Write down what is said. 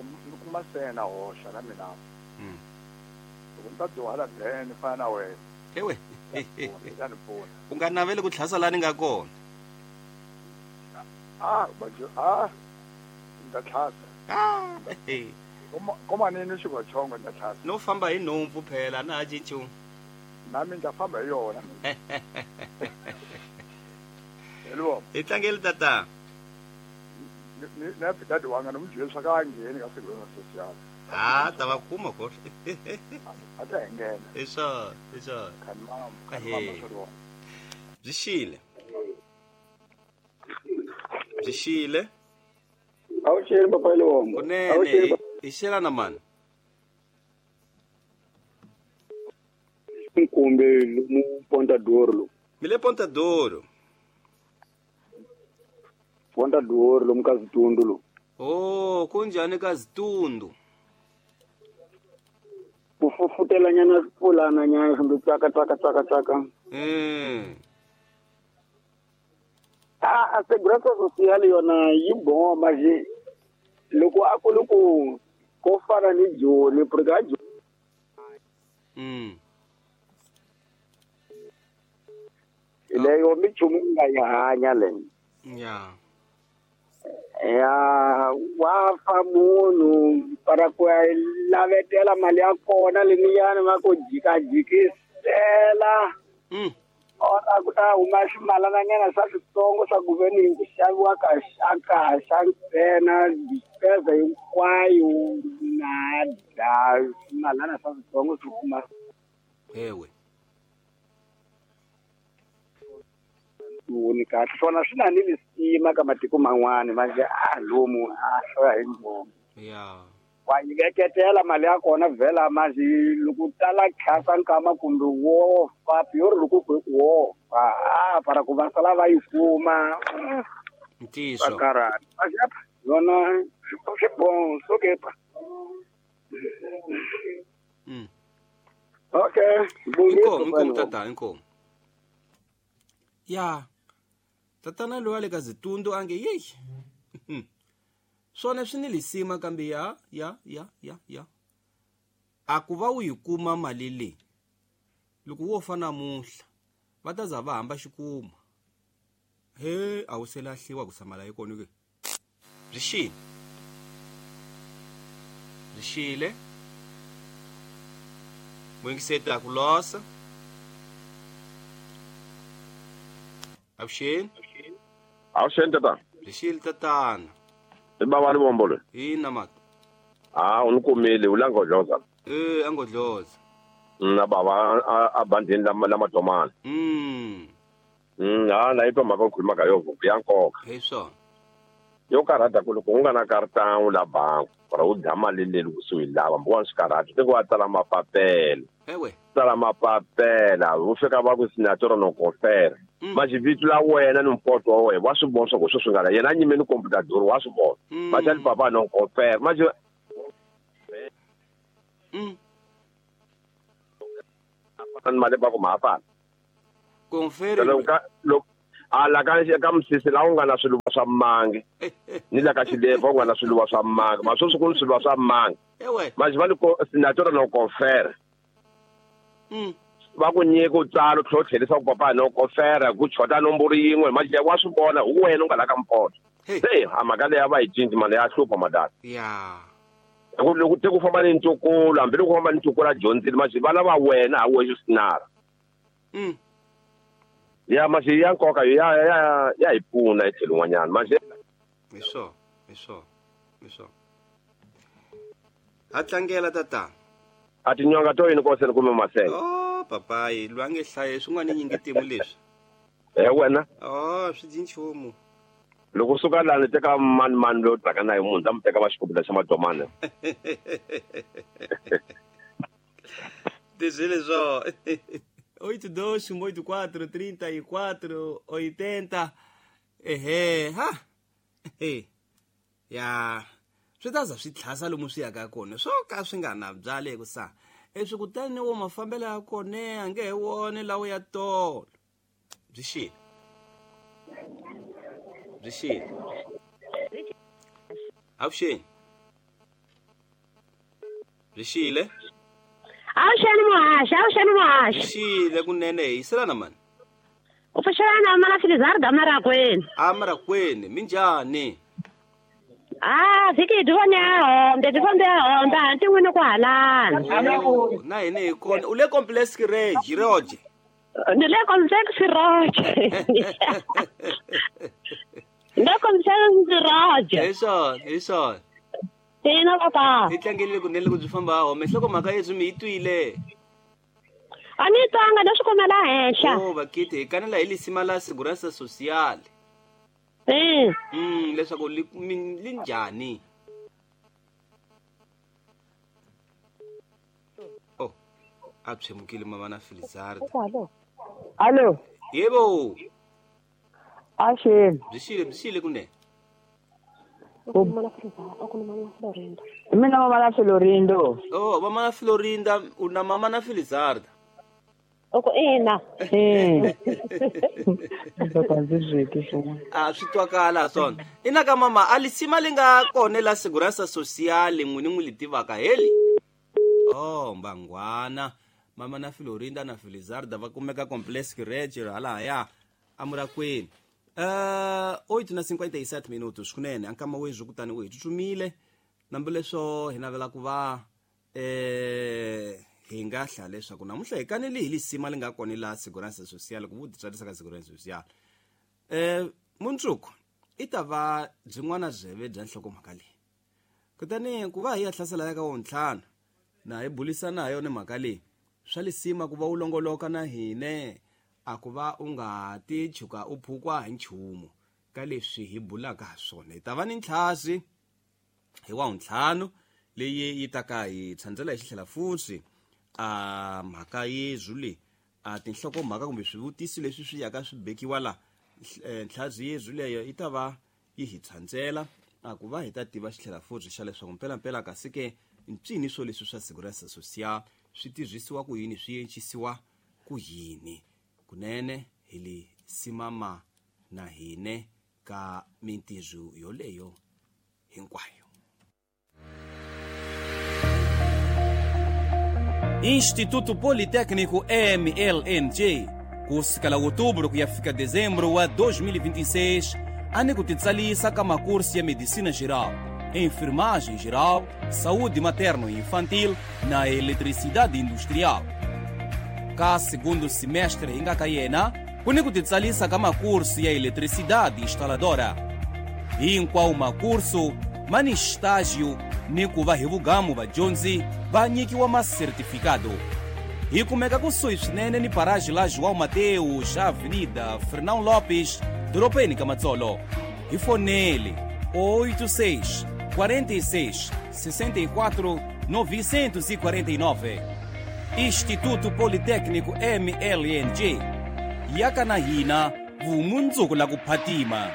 ni kuma sena hoxa na mina. Loko ni ta dyuhala then ni fana na wena. Ewe. Ta ni pfuna. U nga naveli ku tlhasa laha ni nga kona. Ni ta tlhasa. Komanini xigochongo ni ta tlhasa. No famba hi nhompfu phela na ha cinci. Nami ni ta famba hi yona. Hello. Hi tlangeli tata. Na fika diwang na mjwe swa ka ngheni ka Segurança Social. Ta va kuma ko. A ta nghena. Eso. Kanma swo. Byi xile. Awuxele papa Lombo. Kunene hi xela na mani. Nkumbe lomu Ponta Doro. Mi le Ponta Doro. Ponta Doro lomu ka Zitundu lo. Oh, kunjani ka Zitundu? Ku fufutela nyana pulana nyana kumbe tsaka. A Segurança Social yona yi boma je. Loko a ku loko ko fana ni Joni porque a Joni. Leyo michumu nga yi hanya le. Ya. Ya wa fa munhu para ku lavetela mali ya kona leniyani va ku jikajikisela. Ora ku ta huma swimalananyana swa switsongo swa ku veni ku xaviwa ka xa ntsena dipeza hinkwayo na da swimalana swa switsongo swi kuma. Ewe. Ni kahle swona swi na ni lisima ka matiko man'wani manje a lomu a hloya hi ngoma. Ya. Wa yi veketela mali ya kona vhela manje loko tala khasa nkama kumbe wo fa pior loko ku wo fa para ku va sala va yi kuma. Ntiyiso. Yona swi bon so ke pa. Okay. Inkomu tata inkomu. Ya. Tatana loyi a le ka Zitundu a nge yeyi. Swona swi ni lisima kambe ya. A ku va u yi kuma mali leyi loko wo fa namuntlha va ta za va hamba xikuma. He a wu se lahliwa ku samala yi kona ke. Byi xile. Muyingiseti a ku losa. Avuxeni. Avuxeni tata. Byi xile tatana. I bava Lombo loyi. Ina mata. U ni kumile u la Ngodloza. A Ngodloza. Na bava a bandini la Madomani. Na yi twa mhaka u khuluma ka yo ya nkoka. Hi swona. Yo karhata ku loko u nga na karata la bangi or u dya mali leyi loko se u yi lava mbo wa swi karhata tiko wa tsala mapapela. Ewe. Tsala mapapela u fika va ku signature no confere. Manje vito la wena ni mpoto wa wena wa swi vona swa ku sweswi nga la yena a nyime ni computador wa swi vona. Manje ni papa no confere manje ni mali va ku ma fana. Confere. Loko ala ka misisi la u nga na swiluva swa mangi ni la ka xileva u nga na swiluva swa mangi ma sweswi ku ni swiluva swa mangi. Ewe. Manje va ni signature no confere. Va ku nyika u tsala u tlhela u tlherisa ku papa no confere ku chota nomboro yin'we manje wa swi vona hi wena u nga la ka mpoto. Se a mhaka leyi a va yi cinci mali ya hlupha madala. Ya. Loko te ku famba ni ntukulu hambi loko ku famba ni ntukulu a dyondzile manje va lava wena ha wexe sinara. Ya manje ya nkoka ya hi pfuna hi tlhelo n'wanyana manje. Hi swona. A tlangela tata. A tinyonga to yini koseni kumbe masenge? Oh papayi loyi a nge hlaye swin'wana nyingi timu leswi. Wena. Swi dyi nchumu. Loko suka lani teka mani loyi taka na hi munhu ta mu teka va xikopela xa Madomani. Tizile swo. 8 2 8 4 34 80. Ehe ha. Ya. Swi ta za swi tlhasa lomu swi yaka kona swo ka swi nga na byale ku sa eswi kutani wo mafambelo ya kona a nge he wone lawo ya tolo. Byi xile. Avuxeni. Byi xile. Avuxeni muhaxi, avuxeni muhaxi. Byi xile kunene, hi yiselana mani. U pfuxelana mana Filizarda Marakweni. A Marakweni, minjhani? Ah, vhiki hi dyi vone ya hombe, dyi fambe ya hombe, hanti n'wini ku halana. Na hina hi kona. U le complex regi roje? Ni le complex roje. Ni le complex roje. Hi swona, hi swona. Ina papa. Hi tlangelile kunene loko byi famba ha home. Nhlokomhaka yebyi mi yi twile? A ni twanga, no swi kumela henhla. Oh, vakiti hi kanela hi lisima la Segurança Social. Leswaku li li njhani? Oh, a tshemukile mama na Filizarda. Alo. Yebo. Axeni. Byi xile, byi xile kunene. Mina mama na Florindo. Oh, mama na Florinda, u na mama na Filizarda. Oko ina. A swi twakala swona. Ina ka mama, a lisima li nga kona la Segurança Social n'wini n'wi li tivaka heli. Oh, mbangwana. Mama na Florinda na Filizarda va kumeka complex reg halahaya aMurakwini. 8:57 minutos kunene ankama wezwi kutani u hi tsutsumile nambi leswo hi navela ku va hi nga hla leswaku namuntlha hi kanele hi lisima li nga kona la Segurança Social ku vu titsarisa ka Segurança Social. Mundzuku i ta va byin'wana byeve bya nhlokomhaka leyi, kutani ku va hi ya hlasela ya ka wontlhanu na hi bulisana ha yona mhaka leyi swa lisima ku va u longoloka na hine, a ku va u nga ti chuka u phukwa hi nchumu ka leswi hi bulaka ha swona. Hi ta va ni ntlhasi hi wa ntlhanu leyi yi ta ka hi tshandzela hi xitlhela futhi a mhaka yezwu leyi a tinhlokomhaka kumbe swivutiso leswi swi yaka swi bekiwa la ntlhazi yezwu leyo yi ta va yi hi tshandzela a ku va hi ta tiva xitlhela futhi xa leswaku mpelampela kasi ke ncini swo leswi swa Segurança Social swi tirhisiwa ku yini, swi encisiwa ku yini. Kunene hi li simama na hine ka mintirho yoleyo hinkwayo. Instituto Politécnico MLNG, kusukela outubro ku ya fika dezembro wa 2026, ani ku titsalisa ka makurso ya medicina geral, enfermagem geral, saúde materno e infantil na eletricidade industrial. Ka segundo semestre hi nga ka yena, ku ni ku titsalisa ka makurso ya eletricidade instaladora. Hinkwawo makurso ma ni estágio ni ku va hi vugamu vadyondzi va nyikiwa masertifikado. Hi kumeka kusuhi swinene ni paraji la João Mateus, Avenida Fernão Lopes, dorobeni ka Matsolo. Hi fonele 86 46 64 949. Instituto Politécnico MLNG, yaka na hina vumundzuku la ku phatima.